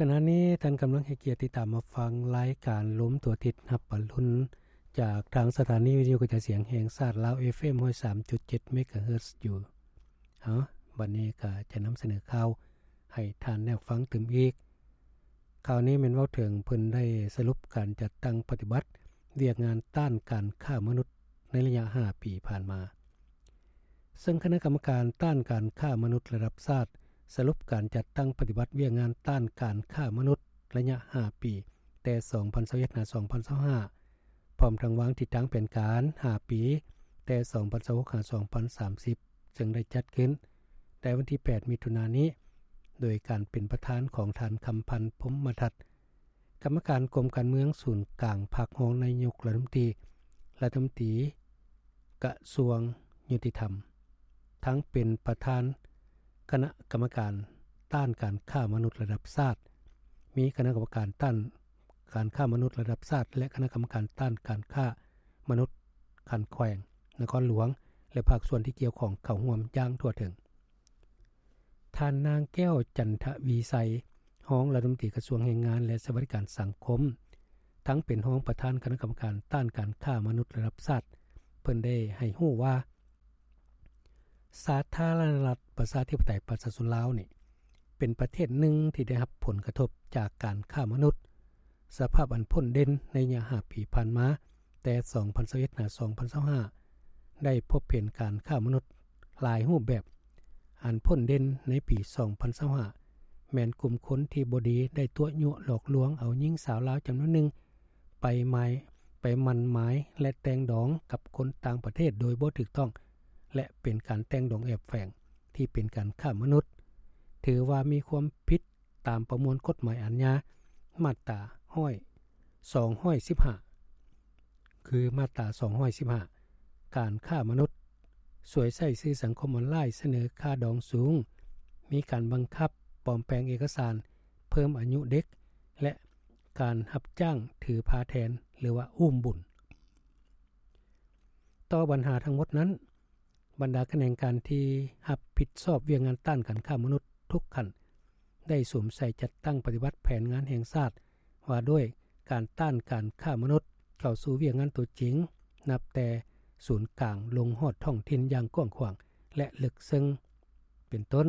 ຂະນະນີ້ທ່ານກຳລັງໃຫ້ກຽດຕິດຕາມຮັບຟັງລາຍການລົມທົ່ວທິດຮັບປະລຸນ ຈາກທາງສະຖານີວິທະຍຸກະຈາຍສຽງແຫ່ງຊາດລາວ ເອຟເອັມ ຮ້ອຍສາມຈຸດເຈັດ ເມກາເຮີດຢູ່. ເອົາ ບັດນີ້ກໍຈະນຳສະເໜີຂ່າວໃຫ້ທ່ານໄດ້ຟັງຕື່ມອີກ. ຂ່າວນີ້ແມ່ນເວົ້າເຖິງເພິ່ນໄດ້ສະຫຼຸບການຈັດຕັ້ງປະຕິບັດວຽກງານຕ້ານການຄ້າມະນຸດໃນໄລຍະຫ້າປີຜ່ານມາ. ເຊິ່ງຄະນະກຳມະການຕ້ານການຄ້າມະນຸດລະດັບຊາດ ສະຫຼຸບການຈັດຕັ້ງປະຕິບັດວຽກງານຕ້ານການຄ້າມະນຸດໄລຍະຫ້າປີ ແຕ່ສອງພັນຊາວເອັດ ຫາ ສອງພັນຊາວຫ້າ ພ້ອມທັງວາງທິດທາງແຜນການຫ້າປີ ແຕ່ສອງພັນຊາວຫົກ ຫາ ສອງພັນສາມສິບ ເຊິ່ງໄດ້ຈັດຂຶ້ນໃນວັນທີແປດ ມິຖຸນານີ້ ໂດຍການເປັນປະທານຂອງທ່ານ ຄຳພັນ ພົມມະທັດ ກຳມະການກົມການເມືອງສູນກາງພັກ ຮອງນາຍົກລັດຖະມົນຕີ ກະຊວງຍຸຕິທຳ ທັງເປັນປະທານຄະນະກຳມະການຕ້ານການຄ້າມະນຸດລະດັບຊາດ, ມີຄະນະກຳມະການຕ້ານການຄ້າມະນຸດລະດັບຊາດ ແລະ ຄະນະກຳມະການຕ້ານການຄ້າມະນຸດຂັ້ນແຂວງ, ນະຄອນຫຼວງ ແລະ ພາກສ່ວນທີ່ກ່ຽວຂ້ອງເຂົ້າຮ່ວມຢ່າງທົ່ວເຖິງ. ທ່ານນາງ ແກ້ວ ຈັນທະວີໄຊ ຮອງລັດຖະມົນຕີກະຊວງແຮງງານ ແລະ ສະຫວັດດີການສັງຄົມ ທັງເປັນຮອງປະທານຄະນະກຳມະການຕ້ານການຄ້າມະນຸດລະດັບຊາດ ເພິ່ນໄດ້ໃຫ້ຮູ້ວ່າ ສາທາລະນະລັດປະຊາທິປະໄຕປະຊາຊົນລາວນີ້ ເປັນປະເທດໜຶ່ງທີ່ໄດ້ຮັບຜົນກະທົບຈາກການຄ້າມະນຸດ. ສະພາບອັນພົ້ນເດັ່ນໃນໄລຍະຫ້າປີຜ່ານມາ ແຕ່ສອງພັນຊາວເອັດ ຫາ ສອງພັນຊາວຫ້າ ໄດ້ພົບເຫັນການຄ້າມະນຸດ ຫຼາຍຮູບແບບ. ອັນພົ້ນເດັ່ນໃນປີສອງພັນຊາວຫ້າ ແມ່ນກຸ່ມຄົນທີ່ບໍ່ດີໄດ້ຕົວະຍົວະຫຼອກລວງເອົາຍິງສາວລາວຈຳນວນໜຶ່ງ ໄປໝາຍ ໄປໝັ້ນໝາຍ ແລະ ແຕ່ງດອງກັບຄົນຕ່າງປະເທດໂດຍບໍ່ຖືກຕ້ອງ ແລະ ເປັນການແຕ່ງດອງແອບແຝງທີ່ເປັນການຄ້າມະນຸດ, ຖືວ່າມີຄວາມຜິດຕາມປະມວນກົດໝາຍອາຍາ ມາດຕາຮ້ອຍ ສອງຮ້ອຍສິບຫ້າ ຄືມາດຕາສອງຮ້ອຍສິບຫ້າ ການຄ້າມະນຸດ, ສວຍໃຊ້ສື່ສັງຄົມອອນລາຍສະເໜີຄ່າດອງສູງ, ມີການບັງຄັບປອມແປງເອກະສານ, ເພີ່ມອາຍຸເດັກ ແລະ ການຮັບຈ້າງຖືພາແທນ ຫຼືວ່າອຸ້ມບຸນ. ຕໍ່ບັນຫາທັງໝົດນັ້ນ, ບັນດາຂະແໜງການທີ່ຮັບຜິດຊອບວຽກງານຕ້ານການຄ້າມະນຸດທຸກຂັ້ນ ໄດ້ສຸມໃສ່ຈັດຕັ້ງປະຕິບັດແຜນງານແຫ່ງຊາດວ່າດ້ວຍການຕ້ານການຄ້າມະນຸດ ເຂົ້າສູ່ວຽກງານຕົວຈິງ, ນັບແຕ່ສູນກາງລົງຮອດທ້ອງຖິ່ນຢ່າງກວ້າງຂວາງ ແລະ ເລິກເຊິ່ງ. ເປັນຕົ້ນ,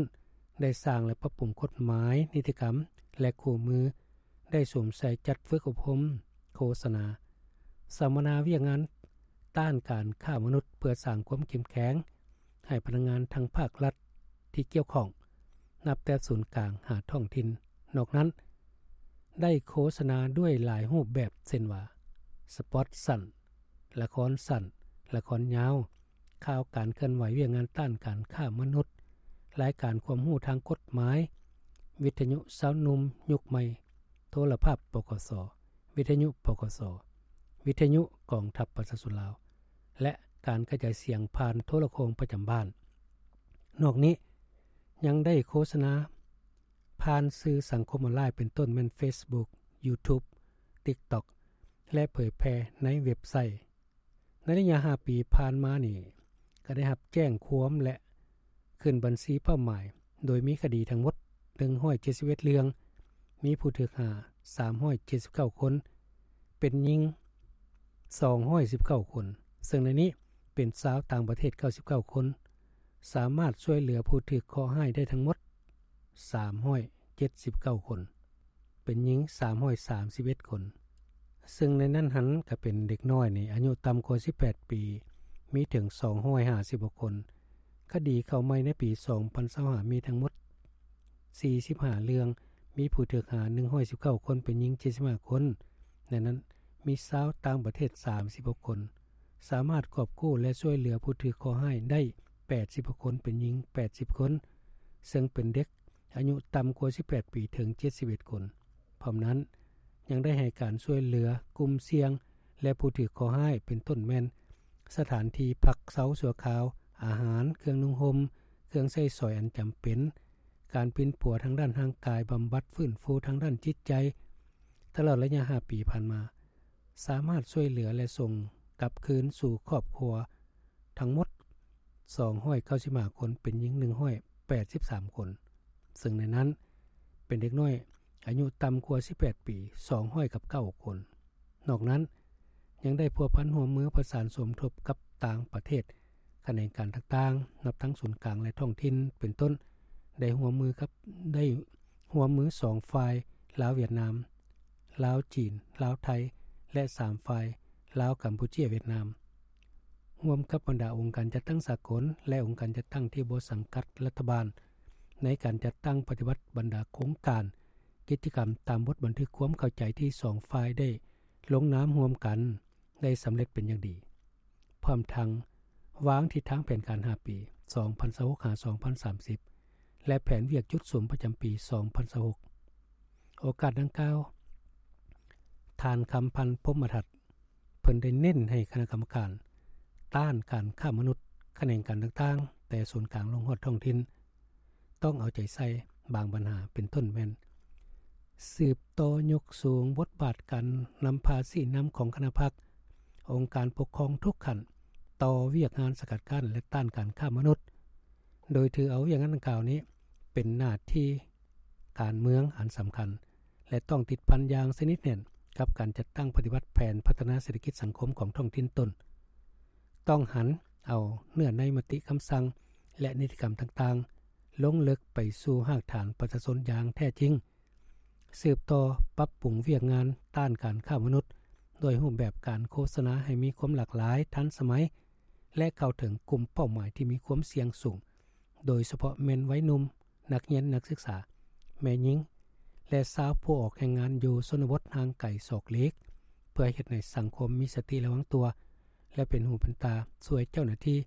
ໄດ້ສ້າງ ແລະ ປັບປຸງກົດໝາຍ, ນິຕິກຳ ແລະ ຄູ່ມື, ໄດ້ສຸມໃສ່ຈັດຝຶກອົບຮົມ, ໂຄສະນາ, ສຳມະນາວຽກງານ ຕ້ານການຄ້າມະນຸດ ເພື່ອສ້າງຄວາມເຂັ້ມແຂງໃຫ້ພະນັກງານທັງພາກລັດທີ່ກ່ຽວຂ້ອງ, ນັບແຕ່ສູນກາງຫາທ້ອງຖິ່ນ. ນອກນັ້ນ, ໄດ້ໂຄສະນາດ້ວຍຫຼາຍຮູບແບບ ເຊັ່ນວ່າ ສະປອດສັ້ນ, ລະຄອນສັ້ນ, ລະຄອນຍາວ, ຂ່າວການເຄື່ອນໄຫວວຽກງານຕ້ານການຄ້າມະນຸດ, ລາຍການຄວາມຮູ້ທາງກົດໝາຍ, ວິທະຍຸຊາວໜຸ່ມຍຸກໃໝ່, ໂທລະພາບ ປກສ, ວິທະຍຸ ປກສ, ວິທະຍຸກອງທັບປະຊາຊົນລາວ ແລະ ການກະຈາຍສຽງຜ່ານໂທລະໂຄ່ງປະຈຳບ້ານ. ນອກນີ້ຍັງໄດ້ໂຄສະນາຜ່ານສື່ສັງຄົມອອນລາຍ ເປັນຕົ້ນແມ່ນ ເຟສບຸກ, ຢູທູບ, ຕິກຕັອກ ແລະ ເຜີຍແຜ່ໃນເວັບໄຊ. ໃນໄລຍະຫ້າປີຜ່ານມານີ້ ກໍໄດ້ຮັບແຈ້ງຄວາມ ແລະ ຂຶ້ນບັນຊີເປົ້າໝາຍ ໂດຍມີຄະດີທັງໝົດໜຶ່ງຮ້ອຍເຈັດສິບເອັດເລື່ອງ, ມີຜູ້ຖືກຫາສາມຮ້ອຍເຈັດສິບເກົ້າຄົນ, ເປັນຍິງສອງຮ້ອຍສິບເກົ້າຄົນ, ເຊິ່ງໃນນີ້ເປັນຊາວຕ່າງປະເທດເກົ້າສິບເກົ້າຄົນ, ສາມາດຊ່ວຍເຫຼືອຜູ້ຖືກເຄາະຮ້າຍໄດ້ທັງໝົດສາມຮ້ອຍເຈັດສິບເກົ້າຄົນ. ເປັນຍິງສາມຮ້ອຍສາມສິບເອັດຄົນ, ເຊິ່ງໃນນັ້ນຫັ້ນກະເປັນເດັກນ້ອຍນີ້ອາຍຸຕ່ຳກວ່າສິບແປດປີ ມີເຖິງສອງຮ້ອຍຫ້າສິບຫົກຄົນ. ຄະດີເຂົ້າໃໝ່ໃນປີສອງພັນຊາວຫ້າ ມີທັງໝົດສີ່ສິບຫ້າເລື່ອງ, ມີຜູ້ຖືກຫາໜຶ່ງຮ້ອຍສິບເກົ້າຄົນ, ເປັນຍິງເຈັດສິບຫ້າຄົນ, ໃນນັ້ນມີຊາວຕ່າງປະເທດສາມສິບຫົກຄົນ, ສາມາດກອບກູ້ ແລະ ຊ່ວຍເຫຼືອຜູ້ຖືກເຄາະຮ້າຍໄດ້ແປດສິບຫົກຄົນ, ເປັນຍິງແປດສິບຄົນ, ເຊິ່ງເປັນເດັກ ອາຍຸຕ່ຳກວ່າສິບແປດປີເຖິງເຈັດສິບເອັດຄົນ. ພ້ອມນັ້ນ ຍັງໄດ້ໃຫ້ການຊ່ວຍເຫຼືອກຸ່ມສ່ຽງ ແລະ ຜູ້ຖືກເຄາະຮ້າຍ ເປັນຕົ້ນແມ່ນ ສະຖານທີ່ພັກເຊົາຊົ່ວຄາວ, ອາຫານ, ເຄື່ອງນຸ່ງຫົ່ມ, ເຄື່ອງໃຊ້ສອຍອັນຈຳເປັນ, ການປິ່ນປົວທາງດ້ານຮ່າງກາຍ, ບຳບັດຟື້ນຟູທາງດ້ານຈິດໃຈ. ຕະຫຼອດໄລຍະຫ້າປີຜ່ານມາ, ສາມາດຊ່ວຍເຫຼືອ ແລະ ສົ່ງກັບຄືນສູ່ຄອບຄົວ ທັງໝົດສອງຮ້ອຍເກົ້າສິບຫ້າຄົນ, ເປັນຍິງໜຶ່ງຮ້ອຍແປດສິບສາມຄົນ, ເຊິ່ງໃນນັ້ນເປັນເດັກນ້ອຍ ອາຍຸຕ່ຳກວ່າສິບແປດປີ ສອງຮ້ອຍກັບເກົ້າຄົນ. ນອກນັ້ນ ຍັງໄດ້ພົວພັນຮ່ວມມືປະສານສົມທົບກັບຕ່າງປະເທດ, ຂະແໜງການຕ່າງໆ ນັບທັງສູນກາງ ແລະ ທ້ອງຖິ່ນ ເປັນຕົ້ນ ໄດ້ຮ່ວມມືກັບ ໄດ້ຮ່ວມມືສອງຝ່າຍ ລາວ-ຫວຽດນາມ, ລາວ-ຈີນ, ລາວ-ໄທ ແລະ ສາມຝ່າຍ ລາວ-ກຳປູເຈຍ-ຫວຽດນາມ, ຮ່ວມກັບບັນດາອົງການຈັດຕັ້ງສາກົນ ແລະ ອົງການຈັດຕັ້ງທີ່ບໍ່ສັງກັດລັດຖະບານ ໃນການຈັດຕັ້ງປະຕິບັດບັນດາໂຄງການ, ກິດຈະກຳຕາມບົດບັນທຶກຄວາມເຂົ້າໃຈທີ່ສອງຝ່າຍໄດ້ລົງນາມຮ່ວມກັນ ໄດ້ສຳເລັດເປັນຢ່າງດີ, ພ້ອມທັງວາງທິດທາງແຜນການຫ້າປີ ສອງພັນຊາວຫົກ ຫາ ສອງພັນສາມສິບ ແລະ ແຜນວຽກຈຸດສຸມປະຈຳປີ ສອງພັນຊາວຫົກ. ໂອກາດດັ່ງກ່າວ, ທ່ານ ຄຳພັນ ພົມມະທັດ ເພິ່ນໄດ້ເນັ້ນໃຫ້ຄະນະກຳມະການຕ້ານການຄ້າມະນຸດ ຂະແໜງການຕ່າງໆ ແຕ່ສູນກາງລົງຮອດທ້ອງຖິ່ນ ຕ້ອງເອົາໃຈໃສ່ບາງບັນຫາ ເປັນຕົ້ນແມ່ນ ສືບຕໍ່ຍົກສູງບົດບາດການນຳພາຊີ້ນຳຂອງຄະນະພັກ, ອົງການປົກຄອງທຸກຂັ້ນ ຕໍ່ວຽກງານສະກັດກັ້ນ ແລະ ຕ້ານການຄ້າມະນຸດ, ໂດຍຖືເອົາວຽກງານດັ່ງກ່າວນີ້ເປັນໜ້າທີ່ການເມືອງອັນສຳຄັນ ແລະ ຕ້ອງຕິດພັນຢ່າງສະໜິດແໜ້ນກັບການຈັດຕັ້ງປະຕິບັດແຜນພັດທະນາເສດຖະກິດສັງຄົມຂອງທ້ອງຖິ່ນຕົນ. ຕ້ອງຫັນເອົາເນື້ອໃນມະຕິຄຳສັ່ງ ແລະ ນິຕິກຳຕ່າງໆ ລົງເລິກໄປສູ່ຮາກຖານປະຊາຊົນຢ່າງແທ້ຈິງ, ສືບຕໍ່ປັບປຸງວຽກງານຕ້ານການຄ້າມະນຸດ ດ້ວຍຮູບແບບການໂຄສະນາໃຫ້ມີຄວາມຫຼາກຫຼາຍ, ທັນສະໄໝ ແລະ ເຂົ້າເຖິງກຸ່ມເປົ້າໝາຍທີ່ມີຄວາມສ່ຽງສູງ, ໂດຍສະເພາະແມ່ນໄວໜຸ່ມ, ນັກຮຽນ, ນັກສຶກສາ, ແມ່ຍິງ ແລະ ຊາວຜູ້ອອກແຮງງານຢູ່ຊົນນະບົດຫ່າງໄກສອກຫຼີກ, ເພື່ອເຮັດໃຫ້ສັງຄົມມີສະຕິລະວັງຕົວ ແລະ ເປັນຫູເປັນຕາຊ່ວຍເຈົ້າໜ້າທີ່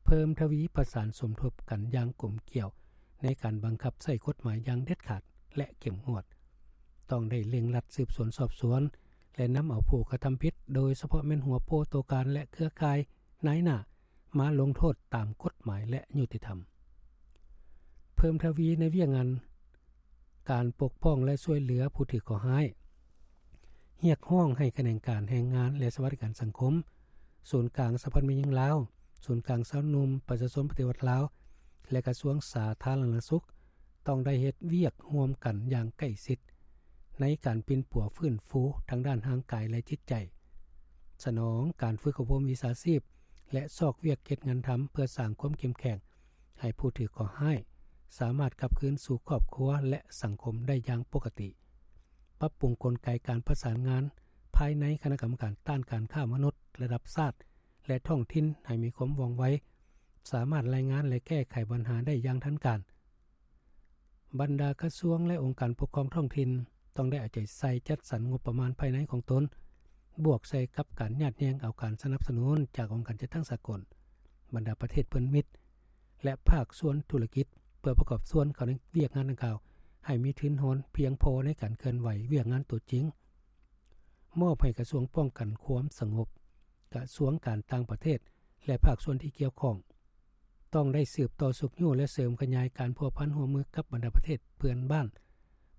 ເພີ່ມທະວີປະສານສົມທົບກັນຢ່າງກົມກຽວ ໃນການບັງຄັບໃຊ້ກົດໝາຍຢ່າງເດັດຂາດ ແລະ ເຂັ້ມງວດ. ຕ້ອງໄດ້ເລັ່ງລັດສືບສວນສອບສວນ ແລະ ນຳເອົາຜູ້ກະທຳຜິດ, ໂດຍສະເພາະແມ່ນຫົວໂປ່ຕົວການ ແລະ ເຄືອຂ່າຍນາຍໜ້າ ມາລົງໂທດຕາມກົດໝາຍ ແລະ ຍຸຕິທຳ. ເພີ່ມທະວີໃນວຽກງານການປົກປ້ອງ ແລະ ຊ່ວຍເຫຼືອຜູ້ຖືກເຄາະຮ້າຍ. ຮຽກຮ້ອງໃຫ້ຂະແໜງການແຮງງານ ແລະ ສະຫວັດດີການສັງຄົມ, ສູນກາງສະຫະພັນແມ່ຍິງລາວ, ສູນກາງຊາວໜຸ່ມປະຊາຊົນປະຕິວັດລາວ ແລະ ກະຊວງສາທາລະນະສຸກ ຕ້ອງໄດ້ເຮັດວຽກຮ່ວມກັນຢ່າງໃກ້ຊິດ ໃນການປິ່ນປົວຟື້ນຟູທາງດ້ານຮ່າງກາຍ ແລະ ຈິດໃຈ, ສະໜອງການຝຶກອົບຮົມວິຊາຊີບ ແລະ ຊອກວຽກເຮັດງານທຳ ເພື່ອສ້າງຄວາມເຂັ້ມແຂງໃຫ້ຜູ້ຖືກເຄາະຮ້າຍ ສາມາດກັບຄືນສູ່ຄອບຄົວ ແລະ ສັງຄົມໄດ້ຢ່າງປົກກະຕິ, ປັບປຸງກົນໄກການປະສານງານພາຍໃນຄະນະກຳມະການຕ້ານການຄ້າມະນຸດລະດັບຊາດ ແລະ ທ້ອງຖິ່ນໃຫ້ມີຄວາມວ່ອງໄວ, ສາມາດລາຍງານ ແລະ ແກ້ໄຂບັນຫາໄດ້ຢ່າງທັນການ. ບັນດາກະຊວງ ແລະ ອົງການປົກຄອງທ້ອງຖິ່ນ ຕ້ອງໄດ້ເອົາໃຈໃສ່ຈັດສັນງົບປະມານພາຍໃນຂອງຕົນ, ບວກໃສ່ກັບການຍາດແຍ່ງເອົາການສະໜັບສະໜູນຈາກອົງການຈັດຕັ້ງສາກົນ, ບັນດາປະເທດເພື່ອນມິດ ແລະ ພາກສ່ວນທຸລະກິດ ເພື່ອປະກອບສ່ວນເຂົ້າໃນວຽກງານດັ່ງກ່າວ ໃຫ້ມີທຶນຮອນພຽງພໍໃນການເຄື່ອນໄຫວວຽກງານຕົວຈິງ. ມອບໃຫ້ກະຊວງປ້ອງກັນຄວາມສະຫງົບ, ກະຊວງການຕ່າງປະເທດ ແລະ ພາກສ່ວນທີ່ກ່ຽວຂ້ອງ ຕ້ອງໄດ້ສືບຕໍ່ຊຸກຍູ້ ແລະ ເສີມຂະຫຍາຍການພົວພັນຮ່ວມມືກັບບັນດາປະເທດເພື່ອນບ້ານ,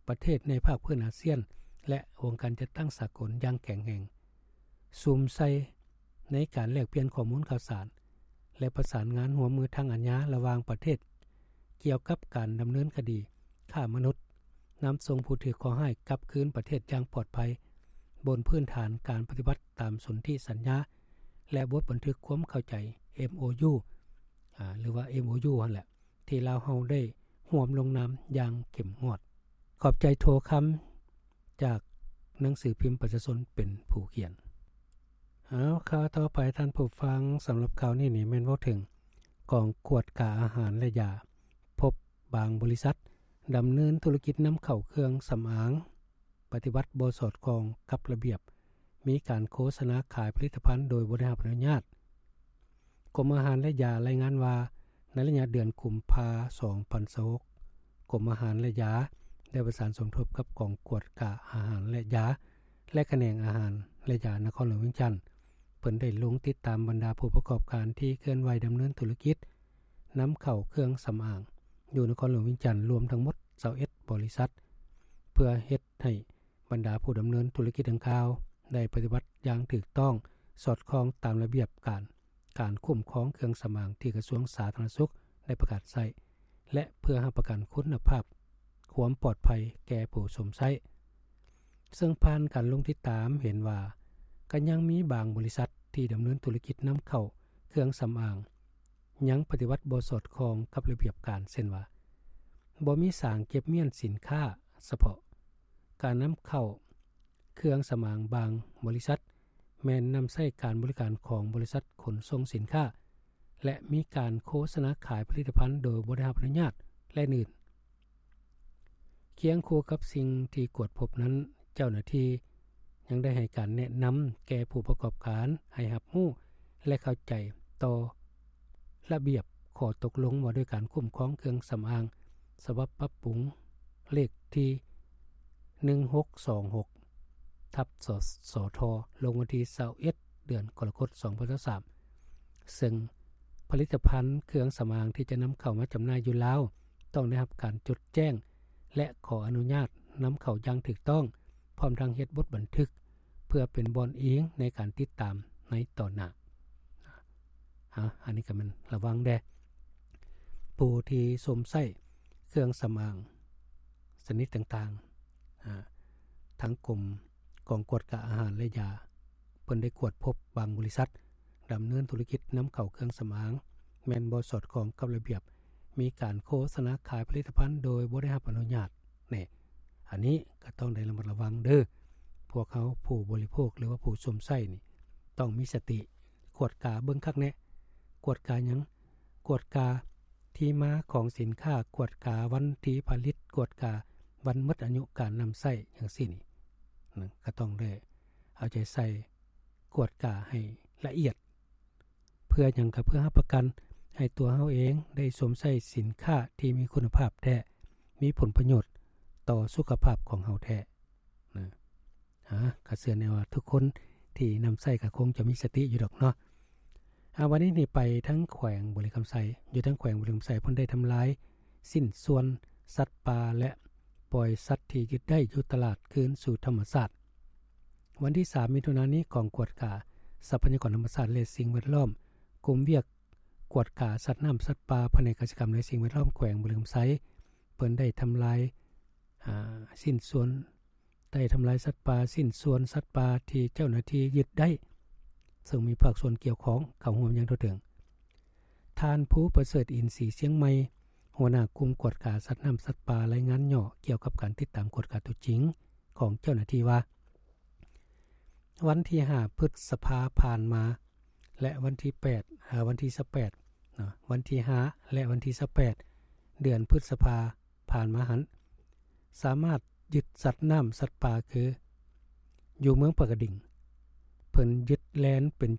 ປະເທດໃນພາກພື້ນອາຊຽນ ແລະ ອົງການຈັດຕັ້ງສາກົນຢ່າງແຂງແຮງ, ສຸມໃສ່ໃນການແລກປ່ຽນຂໍ້ມູນຂ່າວສານ ແລະ ປະສານງານຮ່ວມມືທາງອາຍາລະຫວ່າງປະເທດ ກ່ຽວກັບການດຳເນີນຄະດີຄ້າມະນຸດ, ນຳສົ່ງຜູ້ຖືກເຄາະຮ້າຍກັບຄືນປະເທດຢ່າງປອດໄພ ບົນພື້ນຖານການປະຕິບັດຕາມສົນທິສັນຍາ ແລະ ບົດບັນທຶກຄວາມເຂົ້າໃຈ ເອັມໂອຢູ ອາ ຫຼືວ່າ ເອັມໂອຢູ ຫັ້ນແຫຼະ ທີ່ລາວເຮົາໄດ້ຮ່ວມລົງນາມຢ່າງເຂັ້ມງວດ. ຂອບໃຈໂທຄຳ ຈາກໜັງສືພິມປະຊາຊົນເປັນຜູ້ຂຽນ. ເອົາ ຂ່າວຕໍ່ໄປທ່ານຜູ້ຟັງ, ສຳລັບຂ່າວນີ້ນີ້ແມ່ນເວົ້າເຖິງກອງກວດກາອາຫານ ແລະ ຢາ ພົບບາງບໍລິສັດດຳເນີນທຸລະກິດນຳເຂົ້າເຄື່ອງສຳອາງ ປະຕິບັດບໍ່ສອດຄ່ອງກັບລະບຽບ, ມີການໂຄສະນາຂາຍຜະລິດຕະພັນໂດຍບໍ່ໄດ້ຮັບອະນຸຍາດ. ກົມອາຫານ ແລະ ຢາລາຍງານວ່າ ໃນໄລຍະເດືອນກຸມພາ ສອງພັນຊາວຫົກ ກົມອາຫານ ແລະ ຢາ ໄດ້ປະສານສົມທົບກັບກອງກວດກາອາຫານ ແລະ ຢາ ແລະ ຂະແໜງອາຫານ ແລະ ຢານະຄອນຫຼວງວຽງຈັນ. ເພິ່ນໄດ້ລົງຕິດຕາມບັນດາຜູ້ປະກອບການທີ່ເຄື່ອນໄຫວດຳເນີນທຸລະກິດນຳເຂົ້າເຄື່ອງສຳອາງ ຢູ່ນະຄອນຫຼວງວຽງຈັນ ລວມທັງໝົດ ຊາວເອັດ ບໍລິສັດ ເພື່ອເຮັດໃຫ້ບັນດາຜູ້ດຳເນີນທຸລະກິດດັ່ງກ່າວ ໄດ້ປະຕິບັດຢ່າງຖືກຕ້ອງ, ສອດຄ່ອງຕາມລະບຽບການ ການຄຸ້ມຄອງເຄື່ອງສຳອາງທີ່ກະຊວງສາທາລະນະສຸກໄດ້ປະກາດໃຊ້ ແລະ ເພື່ອຮັບປະກັນຄຸນນະພາບ ຄວາມປອດໄພແກ່ຜູ້ຊົມໃຊ້. ເຊິ່ງຜ່ານການລົງຕິດຕາມເຫັນວ່າ ກໍຍັງມີບາງບໍລິສັດທີ່ດຳເນີນທຸລະກິດນຳເຂົ້າເຄື່ອງສຳອາງ ຍັງປະຕິບັດບໍ່ສອດຄ່ອງກັບລະບຽບການ ເຊັ່ນວ່າ ບໍ່ມີສາງເກັບມ້ຽນສິນຄ້າສະເພາະ, ການນຳເຂົ້າເຄື່ອງສຳອາງບາງບໍລິສັດ ແມ່ນນຳໃຊ້ການບໍລິການຂອງບໍລິສັດຂົນສົ່ງສິນຄ້າ ແລະ ມີການໂຄສະນາຂາຍຜະລິດຕະພັນໂດຍບໍ່ໄດ້ຮັບອະນຸຍາດ ແລະ ອື່ນໆ. ຄຽງຄູ່ກັບສິ່ງທີ່ກວດພົບນັ້ນ, ເຈົ້າໜ້າທີ່ຍັງໄດ້ໃຫ້ການແນະນຳແກ່ຜູ້ປະກອບການໃຫ້ຮັບຮູ້ ແລະ ເຂົ້າໃຈຕໍ່ລະບຽບຂໍ້ຕົກລົງວ່າດ້ວຍການຄຸ້ມຄອງເຄື່ອງສຳອາງ ສະບັບປັບປຸງ ເລກທີ ໜຶ່ງຫົກສອງຫົກ ທັບ ສສທ ລົງວັນທີຊາວເອັດ ເດືອນກໍລະກົດ ສອງພັນຊາວສາມ ເຊິ່ງຜະລິດຕະພັນເຄື່ອງສຳອາງທີ່ຈະນຳເຂົ້າມາຈຳໜ່າຍຢູ່ລາວ ຕ້ອງໄດ້ຮັບການຈົດແຈ້ງ ແລະ ຂໍອະນຸຍາດນຳເຂົ້າຢ່າງຖືກຕ້ອງ ພ້ອມທັງເຮັດບົດບັນທຶກ ເພື່ອເປັນບ່ອນອີງໃນການຕິດຕາມໃນຕໍ່ໜ້າ. ອາ ອັນນີ້ກໍແມ່ນລະວັງແດ່ ຜູ້ທີ່ຊົມໃຊ້ເຄື່ອງສຳອາງຊະນິດຕ່າງໆ ອາ ທາງກົມກອງກວດກາອາຫານ ແລະ ຢາ ເພິ່ນໄດ້ກວດພົບບາງບໍລິສັດ ດຳເນີນທຸລະກິດນຳເຂົ້າເຄື່ອງສຳອາງ ແມ່ນບໍ່ສອດຄ່ອງກັບລະບຽບ, ມີການໂຄສະນາຂາຍຜະລິດຕະພັນໂດຍບໍ່ໄດ້ຮັບອະນຸຍາດ. ນີ້ ອັນນີ້ກໍຕ້ອງໄດ້ລະມັດລະວັງເດີ້. ພວກເຮົາຜູ້ບໍລິໂພກ ຫຼືວ່າຜູ້ຊົມໃຊ້ນີ້ ຕ້ອງມີສະຕິ ກວດກາເບິ່ງຄັກແນ່. ກວດກາຫຍັງ? ກວດກາທີ່ມາຂອງສິນຄ້າ, ກວດກາວັນທີ່ຜະລິດ, ກວດກາວັນໝົດອາຍຸການນຳໃຊ້ ຈັ່ງຊີ້ນີ້ ນະ ກໍຕ້ອງໄດ້ເອົາໃຈໃສ່ ກວດກາໃຫ້ລະອຽດ. ເພື່ອຫຍັງ? ກໍເພື່ອຮັບປະກັນໃຫ້ຕົວເຮົາເອງໄດ້ຊົມໃຊ້ສິນຄ້າທີ່ມີຄຸນນະພາບແທ້, ມີຜົນປະໂຫຍດຕໍ່ສຸຂະພາບຂອງເຮົາແທ້ນະ. ອາ ກໍເຊື່ອແນ່ວ່າທຸກຄົນທີ່ນຳໃຊ້ກໍຄົງຈະມີສະຕິຢູ່ດອກເນາະ. ອາ ວັນນີ້ນີ້ໄປທາງແຂວງບໍລິຄຳໄຊ, ຢູ່ທາງແຂວງບໍລິຄຳໄຊ ເພິ່ນໄດ້ທຳລາຍຊິ້ນສ່ວນສັດປ່າ ແລະ ປ່ອຍສັດທີ່ຍຶດໄດ້ຢູ່ຕະຫຼາດຄືນສູ່ທຳມະຊາດ. ວັນທີສາມ ມິຖຸນານີ້ ກອງກວດກາຊັບພະຍາກອນທຳມະຊາດ ແລະ ສິ່ງແວດລ້ອມ, ກົມວຽກກວດກາສັດນ້ຳສັດປ່າ, ພະແນກກະສິກຳ ແລະ ສິ່ງແວດລ້ອມ ແຂວງບໍລິຄຳໄຊ ເພິ່ນໄດ້ທຳລາຍ ອາ ຊິ້ນສ່ວນ ໄດ້ທຳລາຍສັດປ່າ, ຊິ້ນສ່ວນສັດປ່າທີ່ເຈົ້າໜ້າທີ່ຍຶດໄດ້, ເຊິ່ງມີພາກສ່ວນກ່ຽວຂ້ອງເຂົ້າຮ່ວມຢ່າງທົ່ວເຖິງ. ທ່ານ ພູປະເສີດ ອິນສີຊຽງໃໝ່, ຫົວໜ້າກຸ່ມກວດກາສັດນ້ຳສັດປ່າ ລາຍງານຫຍໍ້ກ່ຽວກັບການຕິດຕາມກວດກາຕົວຈິງຂອງເຈົ້າໜ້າທີ່ວ່າ, ວັນທີຫ້າ ພຶດສະພາຜ່ານມາ ແລະ ວັນທີແປດ ເອີ ວັນທີຊາວແປດເນາະ, ວັນທີຫ້າ ແລະ ວັນທີຊາວແປດ ເດືອນພຶດສະພາຜ່ານມາຫັ້ນ ສາມາດຍຶດສັດນ້ຳສັດປ່າ ຄື ຢູ່ເມືອງປາກກະດິງ ເພິ່ນຍຶດແລນເປັນ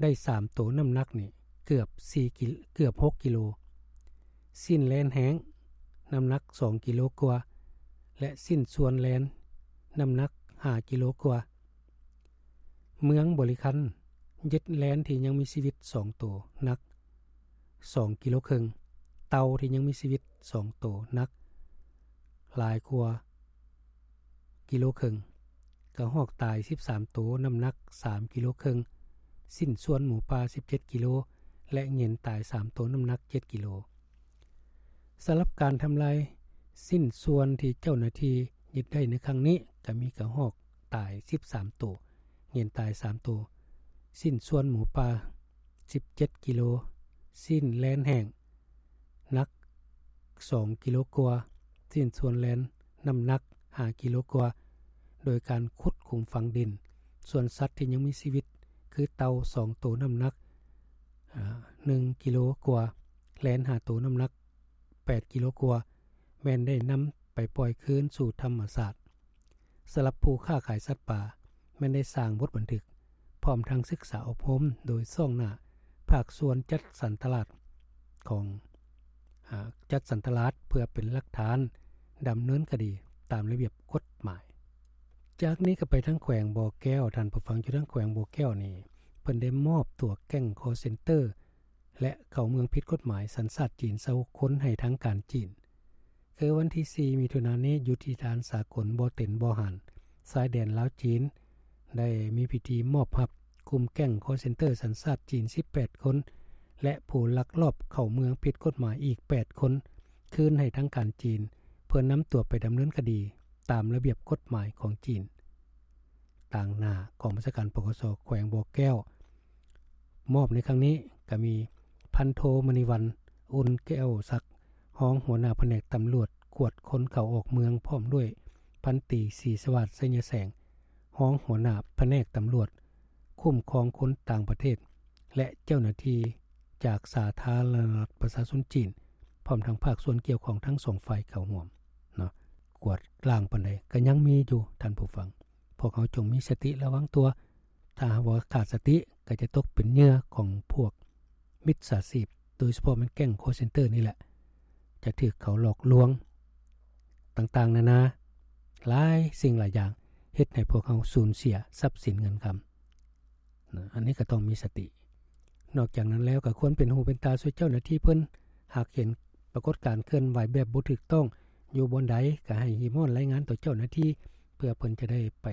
ໄດ້ສາມໂຕ ນ້ຳໜັກນີ້ເກືອບສີ່ກິ ເກືອບຫົກກິໂລ, ຊິ້ນແລນແຫ້ງ ນ້ຳໜັກສອງກິໂລກວ່າ ແລະ ຊິ້ນສ່ວນແລນ ນ້ຳໜັກຫ້າກິໂລກວ່າ. ເມືອງບໍລິຄັນ ຍຶດແລນທີ່ຍັງມີຊີວິດສອງໂຕ ໜັກສອງກິໂລເຄິ່ງ, ເຕົ່າທີ່ຍັງມີຊີວິດສອງໂຕ ໜັກຫຼາຍກວ່າກິໂລເຄິ່ງ, ກະຮອກຕາຍສິບສາມໂຕ ນ້ຳໜັກສາມກິໂລເຄິ່ງ, ຊິ້ນສ່ວນໝູປ່າສິບເຈັດກິໂລ ແລະ ເຫງັນຕາຍສາມໂຕ ນ້ຳໜັກເຈັດກິໂລ. ສຳລັບການທຳລາຍຊິ້ນສ່ວນທີ່ເຈົ້າໜ້າທີ່ຍຶດໄດ້ໃນຄັ້ງນີ້ ກະມີກະຮອກຕາຍສິບສາມໂຕ, ເຫງັນຕາຍສາມໂຕ, ຊິ້ນສ່ວນໝູປ່າສິບເຈັດກິໂລ, ຊິ້ນແລນແຫ້ງໜັກສອງກິໂລກວ່າ, ຊິ້ນສ່ວນແລນນ້ຳໜັກຫ້າກິໂລກວ່າ, ໂດຍການຂຸດຂຸມຝັງດິນ. ສ່ວນສັດທີ່ຍັງມີຊີວິດ ຄືເຕົ່າສອງໂຕ ນ້ຳໜັກ ອາ ໜຶ່ງກິໂລກວ່າ, ແລນຫ້າໂຕ ນ້ຳໜັກແປດກິໂລກວ່າ ແມ່ນໄດ້ນຳໄປປ່ອຍຄືນສູ່ທຳມະຊາດ. ສຳລັບຜູ້ຄ້າຂາຍສັດປ່າ ແມ່ນໄດ້ສ້າງບົດບັນທຶກ ພ້ອມທັງສຶກສາອົບຮົມໂດຍຊ່ອງໜ້າພາກສ່ວນຈັດສັນຕະຫຼາດຂອງ ອາ ຈັດສັນຕະຫຼາດ ເພື່ອເປັນຫຼັກຖານດຳເນີນຄະດີຕາມລະບຽບກົດໝາຍ. ຈາກນີ້ກໍໄປທາງແຂວງບໍ່ແກ້ວ, ທ່ານຜູ້ຟັງ, ຢູ່ທາງແຂວງບໍ່ແກ້ວນີ້ ເພິ່ນໄດ້ມອບຕົວແກ້ງຄໍເຊັນເຕີ ແລະ ເຂົ້າເມືອງຜິດກົດໝາຍ ສັນຊາດຈີນຊາວຫົກຄົນໃຫ້ທາງການຈີນ. ຄືວັນທີສີ່ ມິຖຸນານີ້ ຢູ່ທີ່ດ່ານສາກົນບໍ່ເຕັນບໍ່ຫານ ຊາຍແດນລາວ-ຈີນ ໄດ້ມີພິທີມອບຮັບກຸ່ມແກ້ງຄໍເຊັນເຕີສັນຊາດຈີນສິບແປດຄົນ ແລະ ຜູ້ລັກລອບເຂົ້າເມືອງຜິດກົດໝາຍອີກແປດຄົນ ຄືນໃຫ້ທາງການຈີນ ເ ພິ່ນນຳຕົວໄປດຳເນີນຄະດີຕາມລະບຽບກົດໝາຍຂອງຈີນ. ຕາງໜ້າກອງບັນຊາການ ປກສ ແຂວງບໍ່ແກ້ວ ມອບໃນຄັ້ງນີ້ກໍມີ ພັນໂທ ມະນີວັນ ອຸ່ນແກ້ວສັກ ຮອງຫົວໜ້າພະແນກຕຳຫຼວດກວດຄົນເຂົ້າອອກເມືອງ ພ້ອມດ້ວຍ ພັນຕີ ສີສະຫວາດ ໄຊຍະແສງ ຮອງຫົວໜ້າພະແນກຕຳຫຼວດຄຸ້ມຄອງຄົນຕ່າງປະເທດ ແລະ ເຈົ້າໜ້າທີ່ຈາກສາທາລະນະລັດປະຊາຊົນຈີນ ພ້ອມທັງພາກສ່ວນກ່ຽວຂ້ອງທັງສອງຝ່າຍເຂົ້າຮ່ວມເນາະ. ກວດລ້າງປານໃດກໍຍັງມີຢູ່ ທ່ານຜູ້ຟັງ. ພວກເຮົາຈົ່ງມີສະຕິລະວັງຕົວ, ຖ້າຫາກວ່າຂາດສະຕິກໍຈະຕົກເປັນເຫຍື່ອຂອງພວກມິດສາຊີບ, ໂດຍສະເພາະແມ່ນແກ້ງຄໍເຊັນເຕີນີ້ແຫຼະ, ຈະຖືກເຂົາຫຼອກລວງຕ່າງໆນານາ, ຫຼາຍສິ່ງຫຼາຍຢ່າງ ເຮັດໃຫ້ພວກເຮົາສູນເສຍຊັບສິນເງິນຄຳ. ນະ ອັນນີ້ກໍຕ້ອງມີສະຕິ. ນອກຈາກນັ້ນແລ້ວກໍຄວນເປັນຫູເປັນຕາຊ່ວຍເຈົ້າໜ້າທີ່ເພິ່ນ, ຫາກເຫັນປາກົດການເຄື່ອນໄຫວແບບບໍ່ຖືກຕ້ອງຢູ່ບ່ອນໃດ ກໍໃຫ້ຮີບຮ້ອນລາຍງານຕໍ່ເຈົ້າໜ້າທີ່ ເພື່ອເພິ່ນຈະໄດ້ໄປ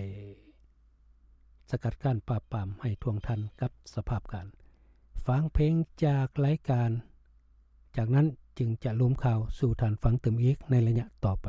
ສະກັດກັ້ນປາບປາມໃຫ້ທ່ວງທັນກັບສະພາບການ. ຟັງເພງຈາກລາຍການ, ຈາກນັ້ນຈຶ່ງຈະລົມຂ່າວສູ່ທ່ານຟັງຕື່ມອີກໃນໄລຍະຕໍ່ໄປ.